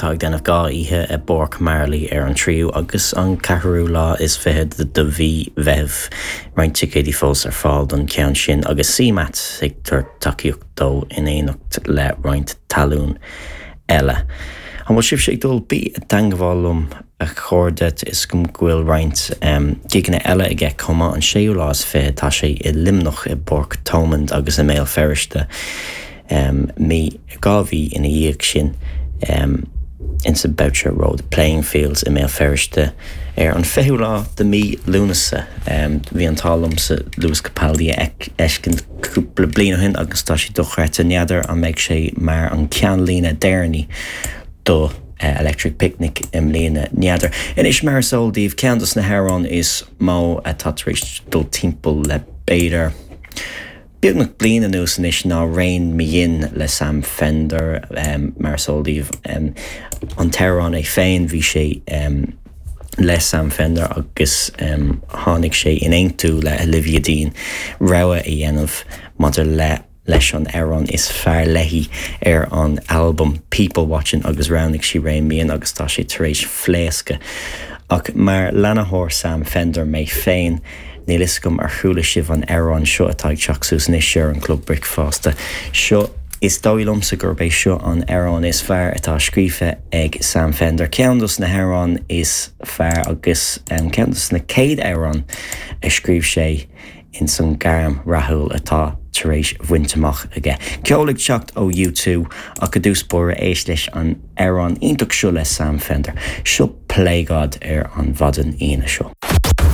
Tá ag déanamh 2 oíche i bPáirc Marlay ar an tríú agus an ceathrú lá is fichead de mhí Mheithimh. Roinnt ticéidí fós ar fáil don cheann sin agus CMAT ag tabhairt tacaíocht dó in éineacht le roinnt talún eile. An bhfuil sibhse ag dul? Bí i dteangmháil liom a chairde, tá 'fhios agam go bhfuil roinnt gigeanna eile aige chomh maith. An séú lá is fiche tá sé i Luimneach i bPáirc Thomond agus i mBéal Feirste. Mí, 2 mhí ina dhiaidh sin, insa Boucher Road Playing Fields i mBéal Feirste ar an 20ú lá de mí Lúnasa. Bhí an t-ádh liomsa Lewis Capaldi a fheiscint cúpla bliain ó shin agus tá sé dochreidte. N'fheadar an mbeidh sé mar an ceannlíne deireanaí do Electric Picnic i mbliana. N'fheadar. Anois mar is eol daoibh, ceann dos na hamhráin is mó atá tar éis dul timpeall le b'fhéidir, Beagnach bliain anuas anois ná Rein Me In le Sam Fender. Mar is eol daoibh, an t-amhrán é féin, bhí sé le Sam Fender agus tháinig sé in aontú le Olivia Dean rogha a dhéanamh maidir le leis an amhrán is fearr léi ar an albam People Watching agus roghnaigh sí Rein Me In agus tá sé tar éis phléascadh. Ach mar leanaitheoir Sam Fender mé féin, Níl fhios agam ar chuala sibh an amhrán seo atá ag teacht suas anois ar an Chlub Bricfeasta. Seo, is dóigh liomsa gurb é seo an amhrán is fearr atá scríofa ag Sam Fender. Ceann dos na hamhráin is fearr agus ceann dos na céad amhráin a scríobh sé ins an gairm rathúil atá tar éis bhaint amach aige. Ceol ag teacht ó U2 ach i dtús báire éist leis an amhrán iontach seo le Sam Fender. Seo Play God ar an mhaidin Aoine seo.